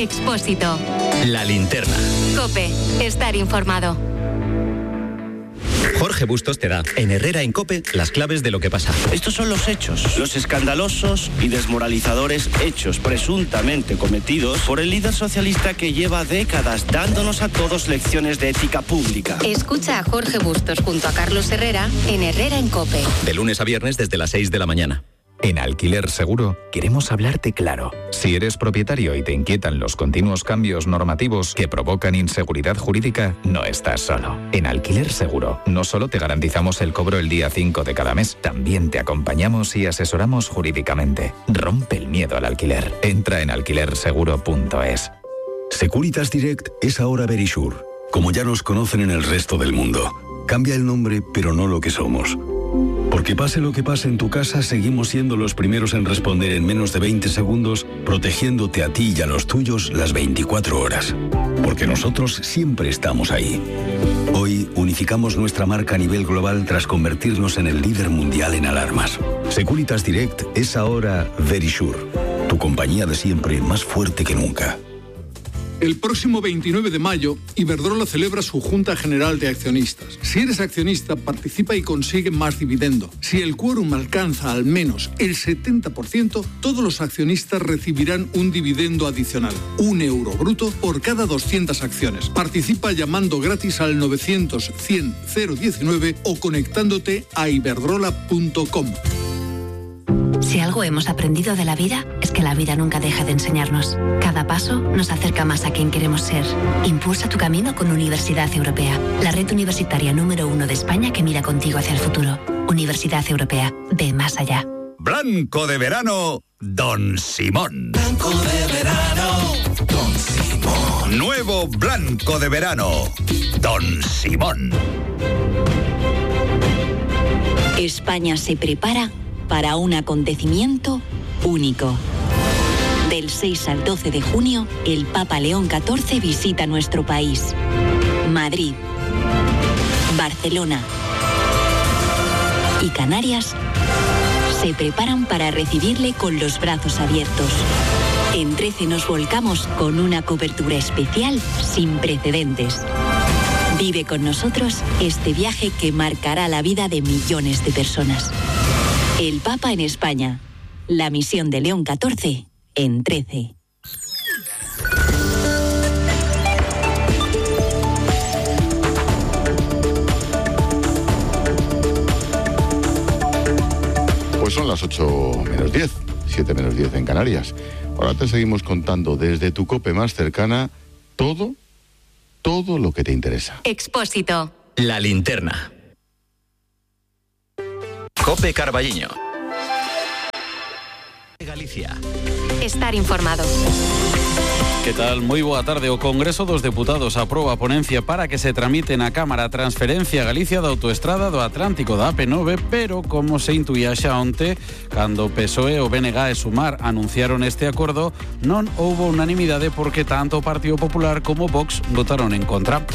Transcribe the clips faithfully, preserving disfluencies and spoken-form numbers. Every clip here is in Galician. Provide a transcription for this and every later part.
Expósito. La Linterna. COPE. Estar informado. Jorge Bustos te da, en Herrera en COPE, las claves de lo que pasa. Estos son los hechos, los escandalosos y desmoralizadores hechos presuntamente cometidos por el líder socialista que lleva décadas dándonos a todos lecciones de ética pública. Escucha a Jorge Bustos junto a Carlos Herrera en Herrera en COPE. De lunes a viernes desde las seis de la mañana. En Alquiler Seguro queremos hablarte claro. Si eres propietario y te inquietan los continuos cambios normativos que provocan inseguridad jurídica, no estás solo. En Alquiler Seguro no solo te garantizamos el cobro el día cinco de cada mes, también te acompañamos y asesoramos jurídicamente. Rompe el miedo al alquiler. Entra en alquiler seguro punto es. Securitas Direct es ahora Verisure, como ya nos conocen en el resto del mundo. Cambia el nombre, pero no lo que somos. Porque pase lo que pase en tu casa, seguimos siendo los primeros en responder en menos de veinte segundos, protegiéndote a ti y a los tuyos las veinticuatro horas. Porque nosotros siempre estamos ahí. Hoy unificamos nuestra marca a nivel global tras convertirnos en el líder mundial en alarmas. Securitas Direct es ahora Verisure, tu compañía de siempre más fuerte que nunca. El próximo veintinueve de mayo, Iberdrola celebra su Junta General de Accionistas. Si eres accionista, participa y consigue más dividendo. Si el quórum alcanza al menos el setenta por ciento, todos los accionistas recibirán un dividendo adicional, un euro bruto por cada doscientas acciones. Participa llamando gratis al novecientos cien cero diecinueve o conectándote a iberdrola punto com. Si algo hemos aprendido de la vida, es que la vida nunca deja de enseñarnos. Cada paso nos acerca más a quien queremos ser. Impulsa tu camino con Universidad Europea, la red universitaria número uno de España que mira contigo hacia el futuro. Universidad Europea, ve más allá. Blanco de verano, Don Simón. Blanco de verano, Don Simón. Nuevo Blanco de verano, Don Simón. España se prepara para un acontecimiento único. Del seis al doce de junio, el Papa León catorce visita nuestro país. Madrid, Barcelona y Canarias se preparan para recibirle con los brazos abiertos. En trece nos volcamos con una cobertura especial sin precedentes. Vive con nosotros este viaje que marcará la vida de millones de personas. El Papa en España. La misión de León catorce en trece. Pues son las ocho menos diez, siete menos diez en Canarias. Ahora te seguimos contando desde tu COPE más cercana todo, todo lo que te interesa. Expósito. La Linterna. COPE Carballiño. Galicia. Estar informado. Que tal? Moi boa tarde. O Congreso dos Deputados aproba a ponencia para que se tramite na Cámara transferencia a Galicia da autoestrada do Atlántico da A P nove, pero como se intuía xa onte, cando o P S O E, o B N G e Sumar anunciaron este acordo, non houbo unanimidade porque tanto o Partido Popular como Vox votaron en contra.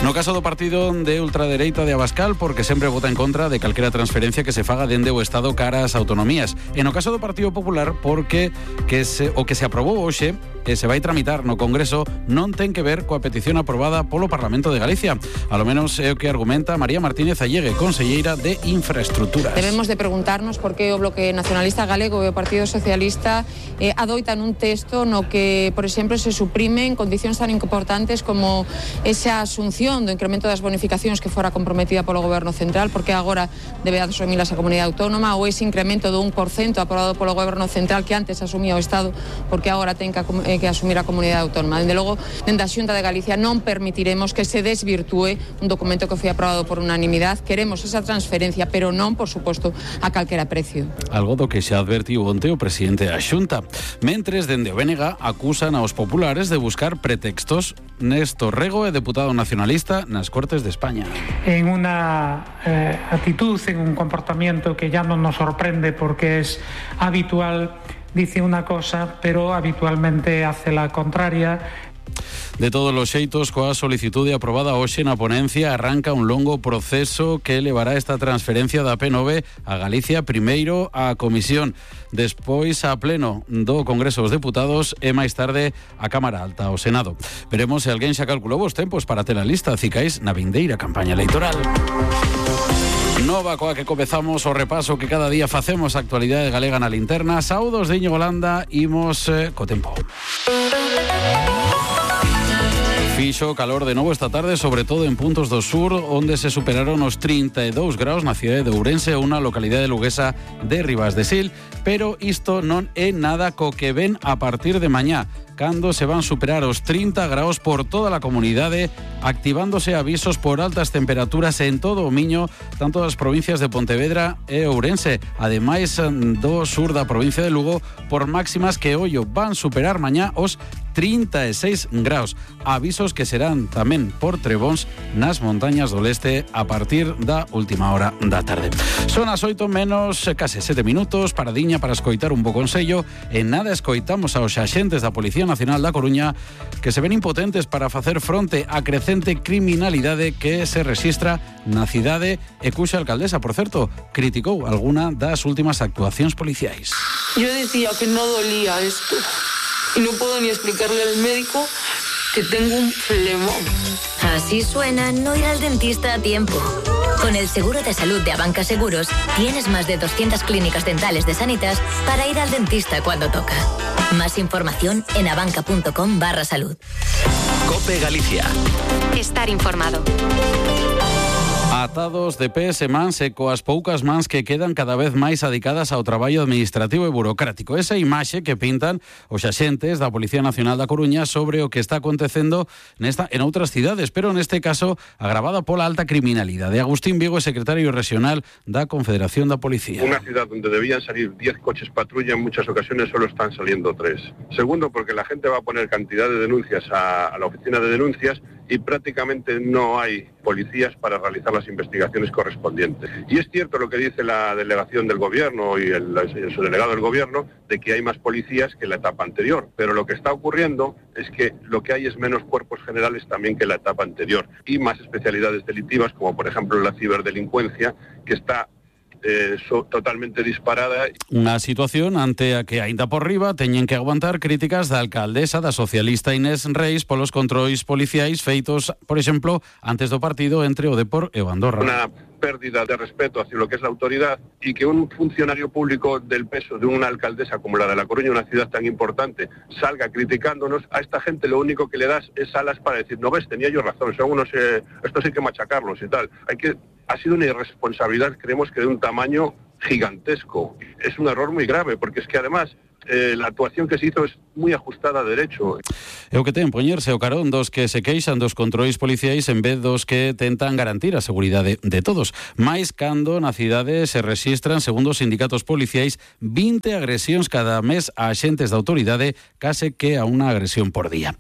No caso do partido de ultradereita de Abascal, porque sempre vota en contra de calquera transferencia que se faga dende o Estado cara ás autonomías. E no caso do Partido Popular, porque que se, o que se aprobou hoxe e se vai tramitar no Congreso non ten que ver coa petición aprobada polo Parlamento de Galicia. A lo menos é o que argumenta María Martínez Allegue, conselleira de Infraestructuras. Debemos de preguntarnos por que o Bloque Nacionalista Galego e o Partido Socialista eh, adoitan un texto no que, por exemplo, se suprimen condicións tan importantes como esa asunción do incremento das bonificacións que fora comprometida polo Goberno Central, porque agora debe asumilas a Comunidade Autónoma, ou ese incremento do un por cento aprobado polo Goberno Central que antes asumía o Estado, porque agora ten que, eh, que asumir a Comunidade Autónoma. Dende logo, dende a Xunta de Galicia non permitiremos que se desvirtúe un documento que foi aprobado por unanimidade. Queremos esa transferencia, pero non, por suposto, a calquera precio. Algo do que xa advertiu onte o presidente da Xunta. Mentres, dende o B N G acusan aos populares de buscar pretextos. Néstor Rego é deputado nacionalista nas Cortes de España. En una eh, actitud, en un comportamiento que ya no nos sorprende porque es habitual, dice una cosa, pero habitualmente hace la contraria. De todos los xeitos, coa solicitude aprobada hoxe na ponencia, arranca un longo proceso que levará esta transferencia da P nove a Galicia, primeiro a Comisión, despois a pleno do Congreso dos Deputados e máis tarde a Cámara Alta, ao Senado. Veremos se alguén xa calculou os tempos para ter a lista cicais na vindeira campaña electoral. Nova coa que comezamos o repaso que cada día facemos a actualidade galega na linterna. Saúdos de Íñigo Landa, imos eh, co tempo. Fixo calor de novo esta tarde, sobre todo en puntos do sur, onde se superaron os trinta e dous graus na cidade de Ourense, unha localidade luguesa de Ribas de Sil, pero isto non é nada co que ven a partir de mañá, cando se van superar os trinta graus por toda a comunidade, activándose avisos por altas temperaturas en todo o Miño, tanto das provincias de Pontevedra e Ourense, ademais do sur da provincia de Lugo, por máximas que ollo van superar mañá os trinta e seis graus. Avisos que serán tamén por trebóns nas montañas do leste a partir da última hora da tarde. Son as oito menos case sete minutos, paradiña para escoitar un bo consello. En nada escoitamos aos axentes da Policía Nacional da Coruña que se ven impotentes para facer fronte á crecente criminalidade que se rexistra na cidade e cuxa alcaldesa, por certo, criticou alguna das últimas actuacións policiais. Yo decía que no dolía esto. Y no puedo ni explicarle al médico que tengo un flemón. Así suena no ir al dentista a tiempo. Con el seguro de salud de Abanca Seguros, tienes más de doscientas clínicas dentales de Sanitas para ir al dentista cuando toca. Más información en abanca.com barra salud. COPE Galicia. Estar informado. Atados de pés e mans e coas poucas mans que quedan cada vez máis adicadas ao traballo administrativo e burocrático. Esa imaxe que pintan os axentes da Policía Nacional da Coruña sobre o que está acontecendo nesta en outras cidades, pero neste caso agravada pola alta criminalidade. Agustín Vigo é secretario regional da Confederación da Policía. Una ciudad donde debían salir diez coches patrulla, en muchas ocasiones solo están saliendo tres. Segundo, porque la gente va a poner cantidad de denuncias a, a la oficina de denuncias y prácticamente no hay policías para realizar las investigaciones correspondientes. Y es cierto lo que dice la delegación del gobierno y el, el subdelegado del gobierno de que hay más policías que la etapa anterior, pero lo que está ocurriendo es que lo que hay es menos cuerpos generales también que la etapa anterior y más especialidades delictivas como por ejemplo la ciberdelincuencia, que está Eh, so, totalmente disparada. Unha situación ante a que aínda por riba teñen que aguantar críticas da alcaldesa da socialista Inés Reis polos controis policiais feitos, por exemplo, antes do partido entre o Depor e o Andorra. Una pérdida de respeto hacia lo que es la autoridad y que un funcionario público del peso de una alcaldesa como la de La Coruña, una ciudad tan importante, salga criticándonos, a esta gente lo único que le das es alas para decir, no ves, tenía yo razón, son unos, eh, estos hay que machacarlos y tal. Hay que Ha sido una irresponsabilidad, creemos que de un tamaño gigantesco. Es un error muy grave, porque es que además eh, la actuación que se hizo es moi ajustada a derecho. É o que ten poñerse o carón dos que se queixan dos controis policiais en vez dos que tentan garantir a seguridade de todos. Mais cando na cidade se rexistran, segundo os sindicatos policiais, vinte agresións cada mes a axentes da autoridade, case que a unha agresión por día.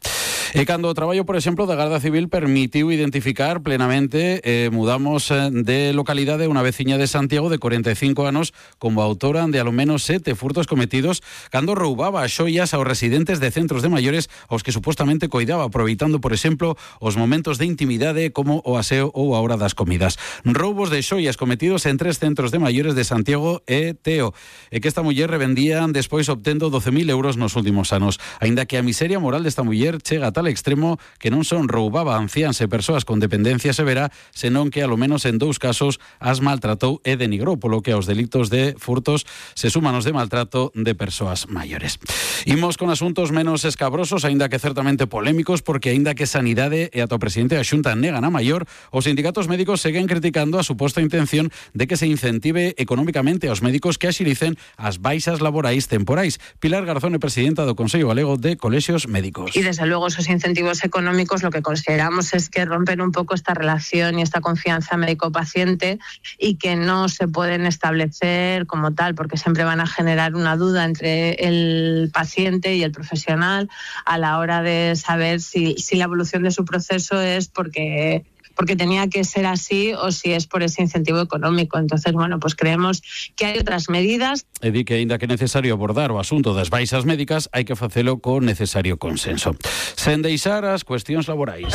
E cando o traballo, por exemplo, da Garda Civil permitiu identificar plenamente, eh, mudamos de localidade unha veciña de Santiago de corenta e cinco anos como autora de alo menos sete furtos cometidos cando roubaba as xoias aos residentes de centros de maiores aos que supostamente coidaba, aproveitando, por exemplo, os momentos de intimidade como o aseo ou a hora das comidas. Roubos de xoias cometidos en tres centros de maiores de Santiago e Teo, e que esta muller revendían despois obtendo doce mil euros nos últimos anos. Aínda que a miseria moral desta muller chega a tal extremo que non son roubaba anciáns e persoas con dependencia severa, senón que alo menos en dous casos as maltratou e denigrou, polo que aos delitos de furtos se suman os de maltrato de persoas maiores. Imos con asuntos menos escabrosos, aínda que certamente polémicos, porque aínda que Sanidade e ata o presidente da Xunta negan a maior, os sindicatos médicos seguen criticando a suposta intención de que se incentive económicamente aos médicos que axilicen as baixas laborais temporais. Pilar Garzón é presidenta do Consello Galego de Colexios Médicos. Y desde luego esos incentivos económicos lo que consideramos es que rompen un poco esta relación y esta confianza médico-paciente y que no se pueden establecer como tal, porque siempre van a generar una duda entre el paciente y el profesional a la hora de saber si, si la evolución de su proceso es porque porque tenía que ser así o si es por ese incentivo económico. Entonces, bueno, pues creemos que hai outras medidas. E di que, aínda que é necesario abordar o asunto das baixas médicas, hai que facelo con necesario consenso. Sen deixar as cuestións laborais.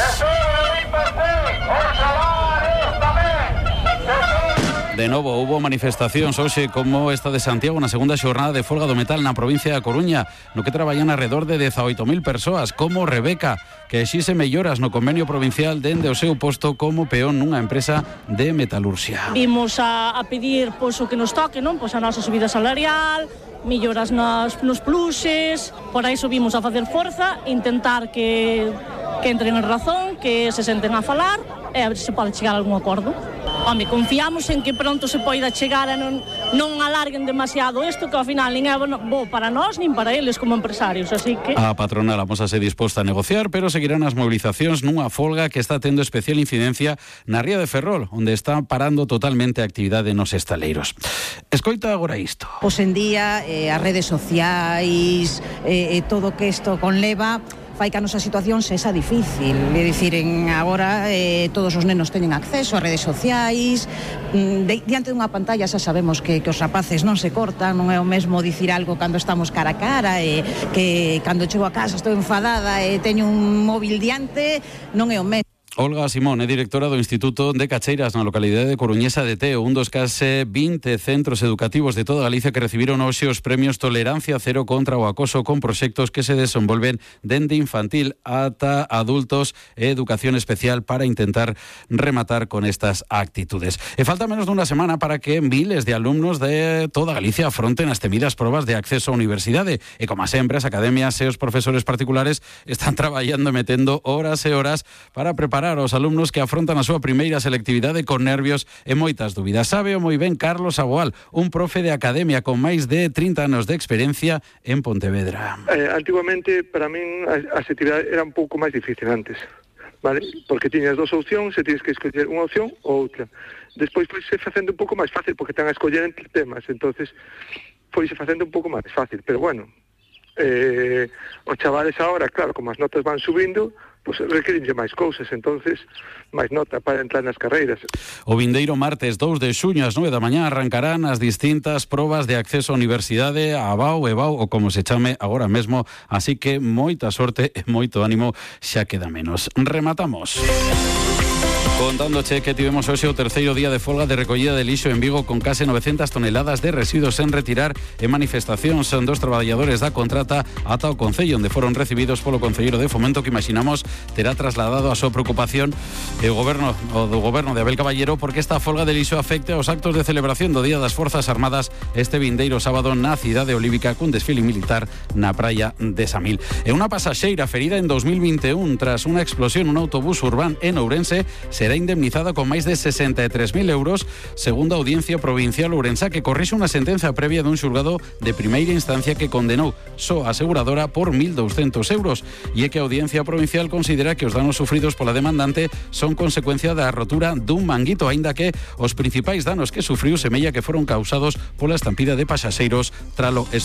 De novo, hubo manifestacións hoxe como esta de Santiago na segunda xornada de folga do metal na provincia da Coruña, no que traballan alrededor de dezaoito mil persoas, como Rebeca, que exixe melloras no convenio provincial dende o seu posto como peón nunha empresa de metalurxia. Vimos a, a pedir pois, o que nos toque, non? Pois a nosa subida salarial, melloras nos, nos pluses, por aí subimos a facer forza, intentar que, que entren en razón, que se senten a falar e a ver se pode chegar a algún acordo. Home, confiamos en que pronto se poida chegar a non, non alarguen demasiado isto, que ao final nin é bo para nós nin para eles como empresarios, así que... A patronal amosase disposta a negociar, pero seguirán as movilizacións nunha folga que está tendo especial incidencia na ría de Ferrol, onde está parando totalmente a actividade nos estaleiros. Escoita agora isto. Hoxe en día, eh, as redes sociais, eh, eh, todo que isto conleva, fai que a nosa situación sexa difícil. É dicir, en agora eh, todos os nenos teñen acceso a redes sociais, de, diante dunha pantalla xa sabemos que, que os rapaces non se cortan, non é o mesmo dicir algo cando estamos cara a cara, e que cando chego a casa estou enfadada e teño un móvil diante, non é o mesmo. Olga Simón é directora do Instituto de Cacheiras na localidade de Coruñesa de Teo, un dos case vinte centros educativos de toda Galicia que recibiron hoxe os premios Tolerancia Cero contra o acoso, con proxectos que se desenvolven dende infantil ata adultos e educación especial para intentar rematar con estas actitudes. E falta menos dunha semana para que miles de alumnos de toda Galicia afronten as temidas probas de acceso á universidade, e como sempre as academias e os profesores particulares están traballando e metendo horas e horas para preparar aos alumnos que afrontan a súa primeira selectividade con nervios e moitas dúbidas. Sabe o moi ben Carlos Aboal, un profe de academia con máis de trinta anos de experiencia en Pontevedra. Eh, antiguamente, para min, a, a selectividade era un pouco máis difícil antes, vale? Porque tiñas dos opcións e tienes que escoller unha opción ou outra. Despois foise facendo un pouco máis fácil porque están a escoller entre temas, entonces foise facendo un pouco máis fácil, pero bueno, eh, os chavales agora, claro, como as notas van subindo, pois pues requerenlle máis cousas, entonces máis nota para entrar nas carreiras. O vindeiro martes dous de xuño ás nove da mañá arrancarán as distintas probas de acceso á universidade, a BAU, EBAU ou como se chame agora mesmo, así que moita sorte e moito ánimo, xa queda menos. Rematamos contándoche que tivemos hoxe o terceiro día de folga de recollida de lixo en Vigo, con case novecentas toneladas de residuos sen retirar e manifestacións dos traballadores da contrata ata o Concello, onde foron recibidos polo Concelleiro de Fomento, que imaginamos terá trasladado a súa preocupación e o goberno o do goberno de Abel Caballero, porque esta folga de lixo afecte aos actos de celebración do Día das Forzas Armadas este vindeiro sábado na cidade olívica, cun desfile militar na praia de Samil. E unha pasaxeira ferida en dos mil vinte e un tras unha explosión nun autobús urbán en Ourense será indemnizada con máis de sesenta e tres mil euros, segundo a Audiencia Provincial Ourensa, que corrixe unha sentenza previa dun xulgado de primeira instancia que condenou só a aseguradora por mil douscentos euros, e é que a Audiencia Provincial considera que os danos sufridos pola demandante son consecuencia da rotura dun manguito, aínda que os principais danos que sufriu semella que foron causados pola estampida de pasaxeiros tralo